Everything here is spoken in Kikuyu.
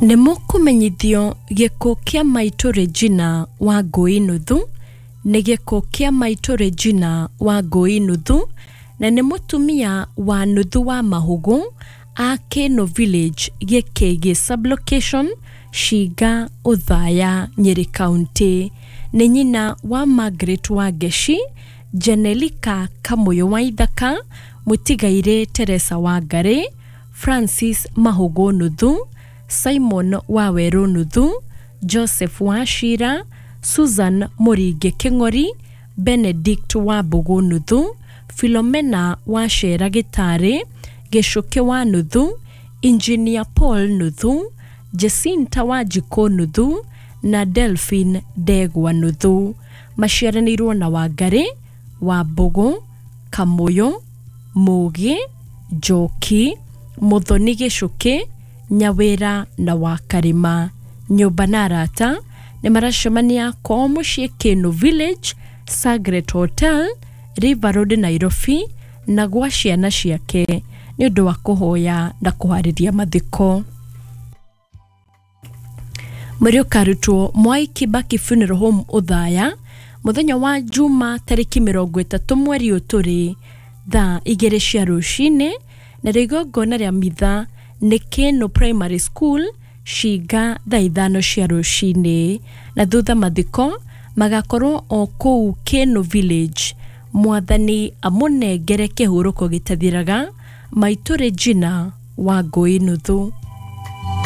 Nĩ mũkũmenyithio gĩkuũ kĩa maitũ Regina Wangũi Nuthu. Nĩ gĩkuũ kĩa maitũ Regina Wangũi Nuthu, na nĩ mũtumia wa nuthu wa Mahũgũ a Keno Village, Gĩkĩgĩ Sublocation, Shinga, Othaya, Nyeri County. Nĩ nyina wa Margaret Wangeci, Janelika Kamũyũ wa Ithaka, mũtigairĩ Teresa Wangarĩ, Francis Mahũgũ Nuthu, Simon Wawerũ Nuthu, Joseph Wachira, Susan Mũringi Kĩng'ori, Benedict Wambũgũ Nuthu, Philomena Wachera Gĩtarĩ, Gĩcũkĩ wa Nuthu, Engineer Paul Nuthu, Jacinta Wanjikũ Nuthu na Delphine Ndegwa Nuthu. Maciaranĩirwo na Wangarĩ, Wambũgũ, Kamũyũ, Mũgĩ, Njoki, Mũthoni Gĩcũkĩ, Nyawĩra na Wakarĩma. Nyũmba na arata nĩ maracemania kwao mũciĩ Keno Village, Sagret Hotel, River Road, Nairobi, na gwa ciana ciake nĩ ũndũ wa kũhoya na kũharĩria mathiko. Mwĩrĩ ũkarutwo Mwai Kibaki Funeral Home, Othaya, mũthenya wa Juma tarĩki 30 mweri ũyũ tũrĩ, thaa 2 cia rũcinĩ, narĩo igongona rĩa mitha nĩ Keno Primary School, Shinga, thaa 5 cia rũcinĩ, na thutha mathiko magakorwo o kũu Keno Village. Mwathani amũnengere kĩhurũko gĩtathiraga maitũ Regina Wangũi Nuthu.